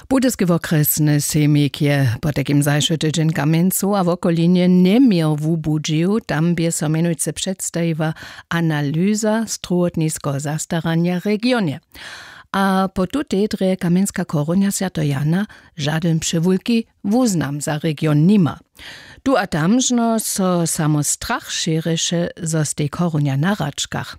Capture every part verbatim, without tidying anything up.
Budyski wokrjesny sejmik je potajkim zašły tydźeń w Kamjencu a wokolinje njeměr wubudźił. Tam bě so mjenujcy předstajiła analyza strowotniskeho zastaranja w regionje. A po tutej drje kamjenska chorunja swjateho Jana žadyn přewulki wuznam za region nima. Tu a tam žno so samo strach šěrješe, zo stej chorunja na hračkach.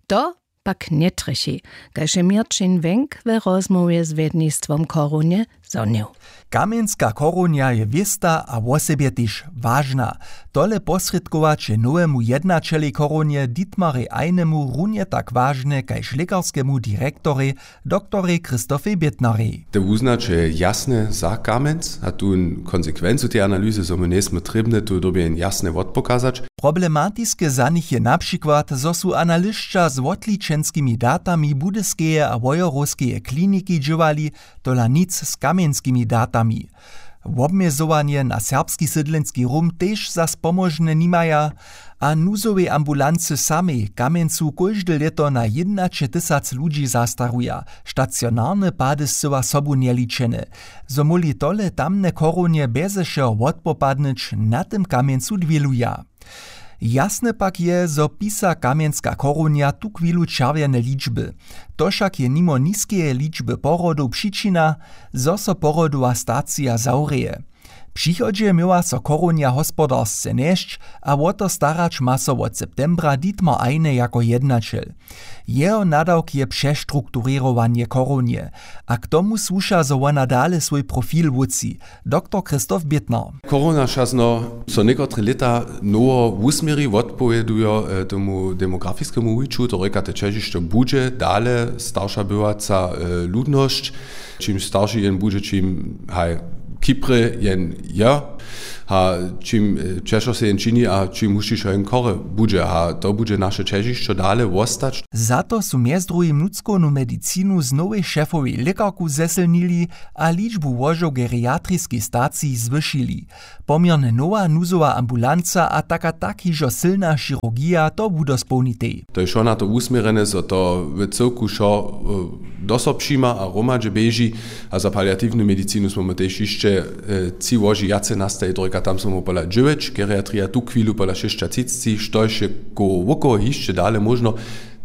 To pak njetrjechi, kaž je Měrćin Wenk we rozmołwje z wjednistwom chorunje zhonił. Kamjenska chorunja je wěsta a wosebje tež wažna. Tole posrědkować je nowemu jednaćelej chorunje Dietmarej Einemu runje tak wažne kaž lěkarskemu direktorej, doktorej Christofej Bětnarej. Te wuznaće jasne za Kamjenc a tu konsekwencu tej analyzy, zo my njejsmy trěbne tu dyrbje jen jasne wotpokazać. Problematiske za nich je na přikład, zo su analyšća z wotličenskimi datami Budyskeje a Wojerowskeje kliniki dźěłali, tola nic z kamjenskimi datami. Wobmjezowanje na serbski sydlenski rum tež za spomóžne nimaja. A nuzowej ambulancy samej w Kamjencu kóžde lěto na jědnaćetysac ludźi zastaruja, stacionarne pady scyła sobu njeličene. Zo móhli tole tamne chorunje bjeze wšeho wotpopadnyć, na tym Kamjencu dwěluja. Jasne pak je, zo pisa kamjenska chorunja tuchwilu čerwjene ličby. To wšak je nimo niskeje ličby porodow přičina, zo so porodowa stacija zawrěje. W přichodźe měła so chorunja hospodarsce njesć a wo to starać ma so wot septembra Dietmar Eine jako jednaćel. Jeho nadawk je přestrukturěrowanje chorunje. A k tomu słuša, zo wona dale swój profil wótři, doktor Christoph Bětner. Chorunja šazno so někotre lěta nowo wusměri, wotpowědujo e, tomu demografiskemu wuwiću, to rěka, te ćežišćo budźe dale starša bywaca e, ludnosć. Čimž starši jen budźe, čim haj, kiprje jen je, a čim e, ćežšo se jen čini a čim hušćišo jen chore budźe, a to budźe naše ćežišćo dale wostać. Za to su mjez druhim nutřkownu medicinu z nowej šefowej lěkarku zesylnili a ličbu łožow w geriatriskej staciji zwyšili. Poměrnje nowa nuzowa ambulanca a taka tak hižo sylna chirurgija to wudospołnitej. To je wšo na to wusměrjene, zo to w cyłku wšo e, do so přijima a hromadźe běži. A za paliatiwnu medicinu smy my tež hišće e, tři łoži wjace nastajić, rěka, tam smy my pola dźewjeć, geriatrija tuchwilu pola šěsćatřicci, štož je ko wokoło hišće dale móžno.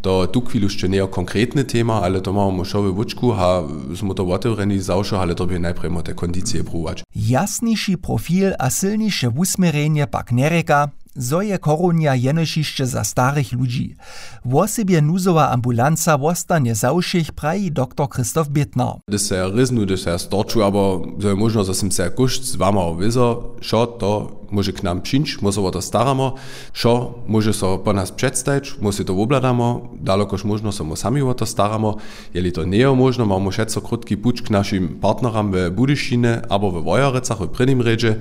To tuchwilu hišće njejo konkretny tema, ale to mamy wšo we łóčku a smy to wotewrjeni za wšo, ale to bě najprjemo te kondicije pruwować. Jasniši profil a sylniše wusměrjenje pak njerěka, zo je chorunja jenož hišće za starych ludźi. Wosebje nuzowa ambulanca wostanje za wšěch, praji doktor Christoph Bětner. Hdyž se ja rěznu, hdyž se ja storču abo zo je móžno, zo sym se ja kóšt z wama wězo, wšo to móže k nam přińć, my so wo to staramo. Wšo móže so po nas předstajić, my sej to wobhladamo, dalokož móžno so my sami wo to staramo. Jeli to njejo móžno, mamy wšetco krótki puć k našim partneram we Budyšinje abo we Wojerecach w prěnim rjedźe.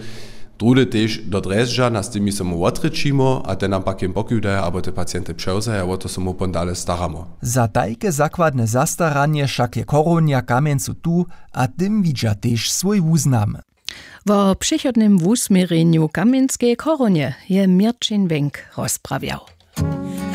Druhdy tež do Drježdźa, na z tymi so my wotrěčimo a te nam pak jen pokiwdaja abo te pacienty přewzaja, wo to so my pon dale staramo. Za tajke zakładne zastaranje wšak je chorunja w Kamjencu tu a tym widźa tež swój wuznam. Wo přichodnym wusměrjenju kamjenskeje chorunje je Měrćin Wenk rozprawjał.